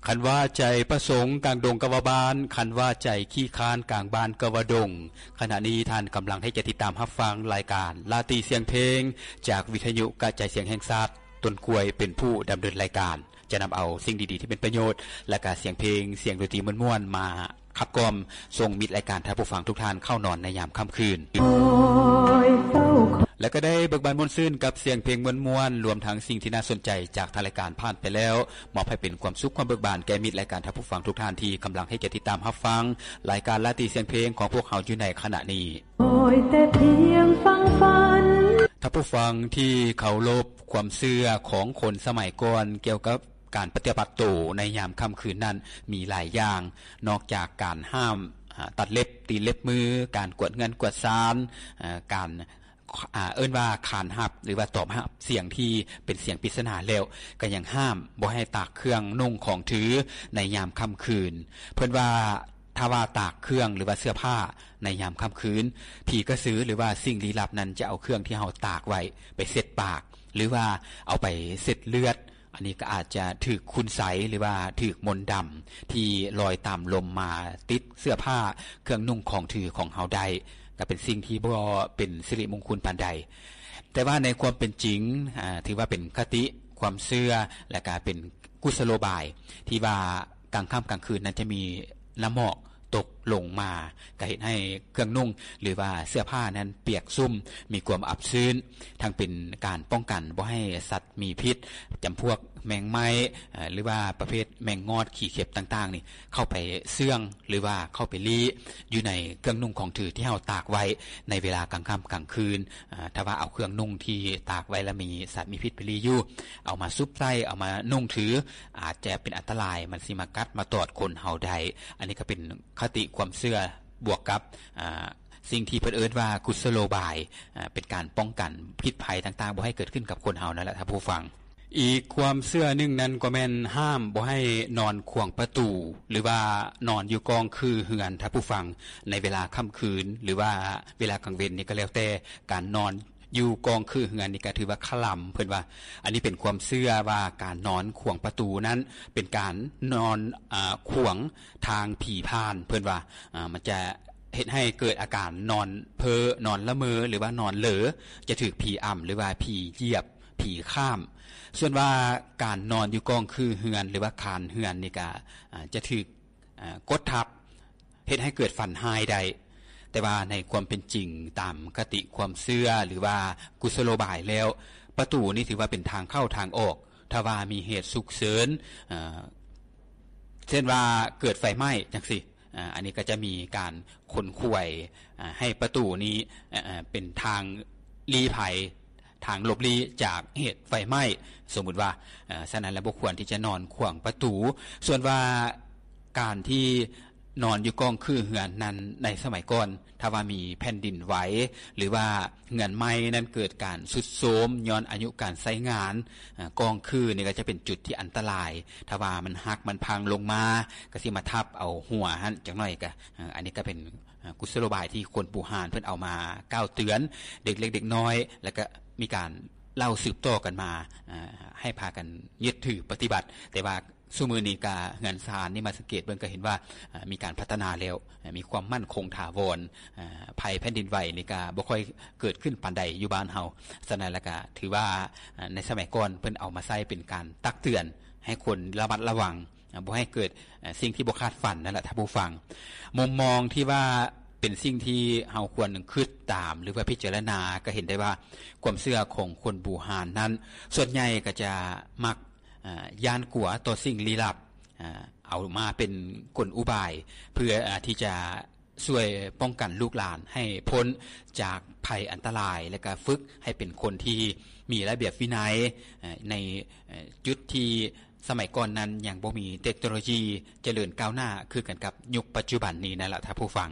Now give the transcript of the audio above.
ຄັນວ່າໃຈປະສົງກາງດົງກະວ່າບ້ານ, ຄັນວ່າໃຈຂີ້ຄ້ານກາງບ້ານກະວ່າດົງ. ຂະນະນີ້ທ່ານກຳລັງທີ່ຈະຕິດຕາມຮັບຟັງລາຍການລາຕີສຽງເພງ ຈາກວິທະຍຸກະຈາຍສຽງແຫ່ງຊາດ, ຕົ້ນກ້ວຍເປັນຜູ້ດຳເນີນລາຍການ, ຈະນຳເອົາສິ່ງດີໆທີ່ເປັນປະໂຫຍດ ແລະກະສຽງເພງ, ສຽງດົນຕີມ່ວນໆ ມາຂັບກ່ອມສົ່ງມິດລາຍການທ່ານຜູ້ຟັງທຸກທ່ານເຂົ້ານອນໃນຍາມຄ່ຳຄືນ. ແລະກໍໄດ້ເບີກບານມ່ວນຊື່ນກັບສຽງເພງມ່ວນໆ ລວມທັງສິ່ງທີ່ໜ້າສົນໃຈຈາກທາງລາຍການຜ່ານໄປແລ້ວ, ມອບໃຫ້ເປັນຄວາມສຸກຄວາມເບີກບານແກ່ມິດລາຍການທ່ານຜູ້ຟັງທຸກທ່ານທີ່ກຳລັງທີ່ຈະຕິດຕາມຮັບຟັງລາຍການລາຕີສຽງເພງຂອງພວກເຮົາຢູ່ໃນຂະນະນີ້. ທ່ານຜູ້ຟັງທີ່ເຄົາລົບ, ຄວາມເຊື່ອຂອງຄົນສະໄໝກ່ອນກ່ຽວກັບ ການປະຕິບັດໂຕໃນຍາມຄ່ຳຄືນນັ້ນມີຫຼາຍຢ່າງ, ນອກຈາກການຫ້າມ ອາ ຕັດເລັບ, ຕີເລັບມື, ການກວດເຮືອນກວດຊານ, ອາ ການ ອາ ເອີ້ນວ່າຂານຮັບ ຫຼືວ່າຕອບຮັບສຽງທີ່ເປັນສຽງປິດສະໜາແລ້ວ, ກໍຍັງຫ້າມບໍ່ໃຫ້ຕາກເຄື່ອງນຸ່ງຂອງຖືໃນຍາມຄ່ຳຄືນ. ເພິ່ນວ່າ ຖ້າວ່າຕາກເຄື່ອງ ຫຼືວ່າເສື້ອຜ້າໃນຍາມຄ່ຳຄືນ, ຜີກະສື ຫຼືວ່າສິ່ງລີ້ລັບນັ້ນຈະເອົາເຄື່ອງທີ່ເຮົາຕາກໄວ້ໄປເຊັດປາກ ຫຼືວ່າເອົາໄປເຊັດເລືອດ. ອັນນີ້ກໍອາດຈະຖືກຄຸນໄສ ຫຼືວ່າຖືກມົນດຳທີ່ລອຍຕາມລົມມາຕິດເສື້ອຜ້າເຄື່ອງນຸ່ງຂອງຖືຂອງເຮົາໄດ້, ກໍເປັນສິ່ງທີ່ບໍ່ເປັນສິລິມຸງຄຸນປານໃດ. ແຕ່ວ່າໃນຄວາມເປັນຈິງ, ອາ, ຖືວ່າເປັນຄະຕິຄວາມເຊື່ອ ແລະກະເປັນກຸສະໂລບາຍທີ່ວ່າກາງຄ່ຳກາງຄືນນັ້ນຈະມີນ້ຳໝອກ ຕົກລົງມາ ກະເຮັດໃຫ້ເຄື່ອງນຸ່ງ ຫຼືວ່າເສື້ອຜ້ານັ້ນປຽກຊຸ່ມ ມີຄວາມອັບຊື້ນ, ທັງເປັນການປ້ອງກັນບໍ່ໃຫ້ສັດມີພິດ ຈຳພວກແມງໄມ້ ເອີ ຫຼືວ່າປະເພດແມງງອດ ຂີ້ເຂັບຕ່າງໆນີ້ ເຂົ້າໄປເຊື່ອງ ຫຼືວ່າເຂົ້າໄປລີ້ຢູ່ໃນເຄື່ອງນຸ່ງຂອງຖືທີ່ເຮົາຕາກໄວ້ໃນເວລາກາງຄ່ຳກາງຄືນ. ເອີ ຖ້າວ່າເອົາເຄື່ອງນຸ່ງທີ່ຕາກໄວ້ແລ້ວມີສັດມີພິດໄປລີ້ຢູ່ ເອົາມາສຸບໃສ່ ເອົາມານຸ່ງຖື ອາດຈະເປັນອັນຕະລາຍ ມັນຊິມາກັດມາຕອດຄົນເຮົາໄດ້. ອັນນີ້ກໍເປັນຄະຕິຄວາມເຊື່ອ ບວກກັບ ອາ ສິ່ງທີ່ເພິ່ນເອີ້ນວ່າກຸສະໂລບາຍ ອາ ເປັນການປ້ອງກັນພິດໄພຕ່າງໆ ບໍ່ໃຫ້ເກີດຂຶ້ນກັບຄົນເຮົານັ້ນແຫຼະທ່ານຜູ້ຟັງ. ອີກຄວາມເຊື່ອໜຶ່ງນັ້ນກໍແມ່ນຫ້າມບໍ່ໃຫ້ນອນຂວາງປະຕູ ຫຼືວ່ານອນຢູ່ກ້ອງຄືເຮືອນທ່ານຜູ້ຟັງ ໃນເວລາຄ່ຳຄືນ ຫຼືວ່າເວລາກາງເວັນນີ້ກໍແລ້ວແຕ່ ການນອນ ຢູ່ກ້ອງຄືເຮືອນນີ້ກໍຖືວ່າຄະລຳ ເພິ່ນວ່າ. ອັນນີ້ເປັນຄວາມເຊື່ອວ່າການນອນຂວາງປະຕູນັ້ນ ເປັນການນອນ ອາ ຂວາງທາງຜີຜ່ານ ເພິ່ນວ່າ. ອາ ມັນຈະເຮັດໃຫ້ເກີດອາການນອນເພີ້ ນອນລະເມີ ຫຼືວ່ານອນເຫຼີ ຈະຖືກຜີອຳ ຫຼືວ່າຜີຢຽບ ຜີຂ້າມ. ສ່ວນວ່າການນອນຢູ່ກ້ອງຄືເຮືອນ ຫຼືວ່າຄານເຮືອນນີ້ກໍ ອາ ຈະຖືກ ອາ ກົດທັບ ເຮັດໃຫ້ເກີດຝັນຮ້າຍໄດ້. ແຕ່ວ່າໃນຄວາມເປັນຈິງ ຕາມຄະຕິຄວາມເຊື່ອ ຫຼືວ່າກຸສະໂລບາຍແລ້ວ ປະຕູນີ້ຖືວ່າເປັນທາງເຂົ້າທາງອອກ. ຖ້າວ່າມີເຫດສຸກເສີນ ເອີ ເຊັ່ນວ່າເກີດໄຟໄໝ້ຈັ່ງຊີ້ ອາ ອັນນີ້ກໍຈະມີການຂົນຂວາຍ ອາ ໃຫ້ປະຕູນີ້ ເອີ ເປັນທາງລີ້ໄພ ທາງຫຼົບຫຼີ້ຈາກເຫດໄຟໄໝ້ ສົມມຸດວ່າ. ເອີ ສະນັ້ນແລ້ວບໍ່ຄວນທີ່ຈະນອນຂວາງປະຕູ. ສ່ວນວ່າການທີ່ນອນຢູ່ກ້ອງຄືເຮືອນນັ້ນ ໃນສະໄໝກ່ອນ ຖ້າວ່າມີແຜ່ນດິນໄຫວ ຫຼືວ່າເຮືອນໄມ້ນັ້ນເກີດການຊຸດໂຊມຍ້ອນອາຍຸການໃຊ້ງານ ອາ ກ້ອງຄືນີ້ກໍຈະເປັນຈຸດທີ່ອັນຕະລາຍ. ຖ້າວ່າມັນຫັກມັນພັງລົງມາ ກໍຊິມາທັບເອົາຫົວຫັ້ນຈັກໜ້ອຍ. ກໍ ອາ ອັນນີ້ກໍເປັນ ອາ ກຸສະໂລບາຍທີ່ຄົນບູຮານເພິ່ນເອົາມາກ່າວເຕືອນເດັກເລັກເດັກນ້ອຍ ແລ້ວກໍມີການເລົ່າສືບຕໍ່ກັນມາ ອາ ໃຫ້ພາກັນຍຶດຖືປະຕິບັດ. ແຕ່ວ່າຊຸມື້ນີ້ກະເຮືອນຊານນີ້ມາສັງເກດເບິ່ງກໍເຫັນວ່າ ອາ ມີການພັດທະນາແລ້ວ ອາ ມີຄວາມໝັ້ນຄົງຖາວອນ ອາ ໄພແຜ່ນດິນໄຫວນີ້ກະບໍ່ຄ່ອຍເກີດຂຶ້ນປານໃດຢູ່ບ້ານເຮົາ. ສະນັ້ນແລ້ວກະຖືວ່າ ອາ ໃນສະໄໝກ່ອນເພິ່ນເອົາມາໃຊ້ເປັນການຕັກເຕືອນໃຫ້ຄົນລະມັດລະວັງ ອາ ບໍ່ໃຫ້ເກີດ ເອີ ສິ່ງທີ່ບໍ່ຄາດຝັນນັ້ນແຫຼະທ່ານຜູ້ຟັງ. ມຸມມອງທີ່ວ່າເປັນສິ່ງທີ່ເຮົາຄວນຄິດຕາມ ຫຼືວ່າພິຈາລະນາ ກໍເຫັນໄດ້ວ່າຄວາມເຊື່ອຂອງຄົນບູຮານນັ້ນ ສ່ວນໃຫຍ່ກໍຈະມັກ ອາ ຢ້ານກົວຕໍ່ສິ່ງລີ້ລັບ ອາ ເອົາມາເປັນກົນອຸບາຍ ເພື່ອ ອາ ທີ່ຈະ ຊ່ວຍປ້ອງກັນລູກຫຼານໃຫ້ພົ້ນຈາກໄພອັນຕະລາຍ ແລະກະຝຶກໃຫ້ເປັນຄົນທີ່ມີລະບຽບວິໄນ ເອີ ໃນ ເອີ ຈຸດທີ່ສະໄໝກ່ອນນັ້ນຍັງບໍ່ມີເຕັກໂນໂລຢີຈະເລີນກ້າວໜ້າຄືກັນກັບຍຸກປັດຈຸບັນນີ້ນັ້ນລະທ່ານຜູ້ຟັງ.